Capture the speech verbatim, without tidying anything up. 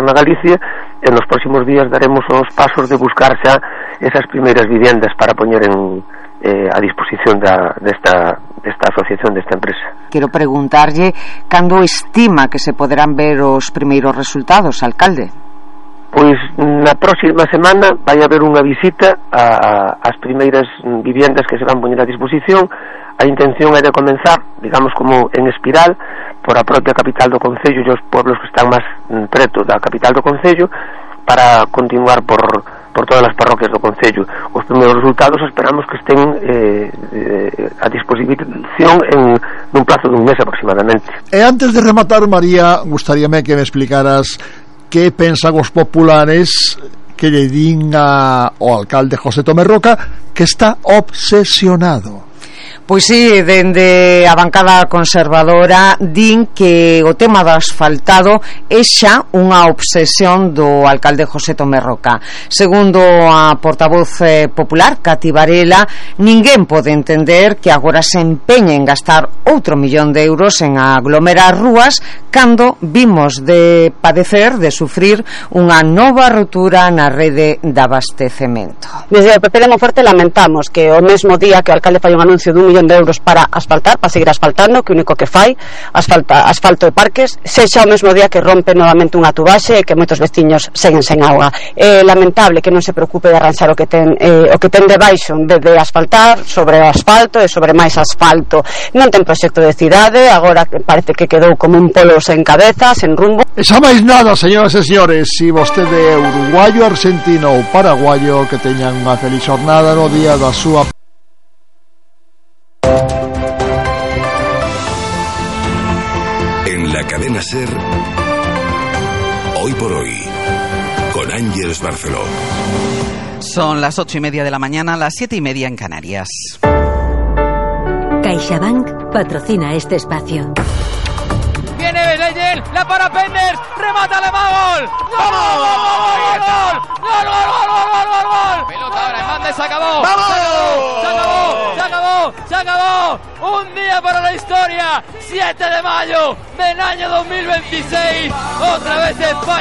Goberno de Galicia, e nos próximos días daremos os pasos de buscar xa esas primeiras viviendas para poñer en, eh, a disposición da, desta, desta asociación, desta empresa. Quero preguntarlle cando estima que se poderán ver os primeiros resultados, alcalde? Pois na próxima semana vai haber unha visita a, a, ás primeiras viviendas que se van poñer a disposición. A intención é de comenzar, digamos, como en espiral por a propia capital do concello e os pueblos que están máis preto da capital do concello, para continuar por, por todas as parroquias do concello. Os primeiros resultados esperamos que estén eh, eh, a disposición en nun plazo dun mes aproximadamente. E antes de rematar, María, gustaríame que me explicaras que pensan os populares que lle din ao alcalde José Tomé Roca que está obsesionado. Pois si, dende a bancada conservadora din que o tema do asfaltado é xa unha obsesión do alcalde José Tomé Roca. Segundo a portavoz eh, popular, Cati Varela, ninguén pode entender que agora se empeñe en gastar outro millón de euros en aglomerar rúas cando vimos de padecer, de sufrir unha nova rotura na rede de abastecemento. Desde o P P de Monforte lamentamos que o mesmo día que o alcalde fai un anuncio dun millón de euros para asfaltar, para seguir asfaltando, que o único que fai asfalta, asfalto de parques, sexa o mesmo día que rompe novamente unha tubaxe e que moitos veciños seguen sen auga. É lamentable que non se preocupe de arranxar o que ten eh, o que ten debaixo en vez de asfaltar sobre o asfalto e sobre máis asfalto. Non ten proxecto de cidade, agora parece que quedou como un polo sen cabeza, sen rumbo. E xa máis nada, señoras e señores, si vostede é uruguayo, argentino ou paraguayo, que teñan unha feliz jornada no día da súa. En la cadena SER, Hoy por Hoy, con Ángeles Barceló. Son las ocho y media de la mañana, las siete y media en Canarias. CaixaBank patrocina este espacio. Viene Leyel, la para Penders, remata de gol. ¡Gol! ¡Gol! ¡Gol! ¡Gol! ¡Gol! ¡Gol! Pelota ahora, Hernández, se acabó. ¡Vamos! Se acabó, se acabó, se acabó. Un día para la historia. siete de mayo del año dos mil veintiséis. Otra vez España.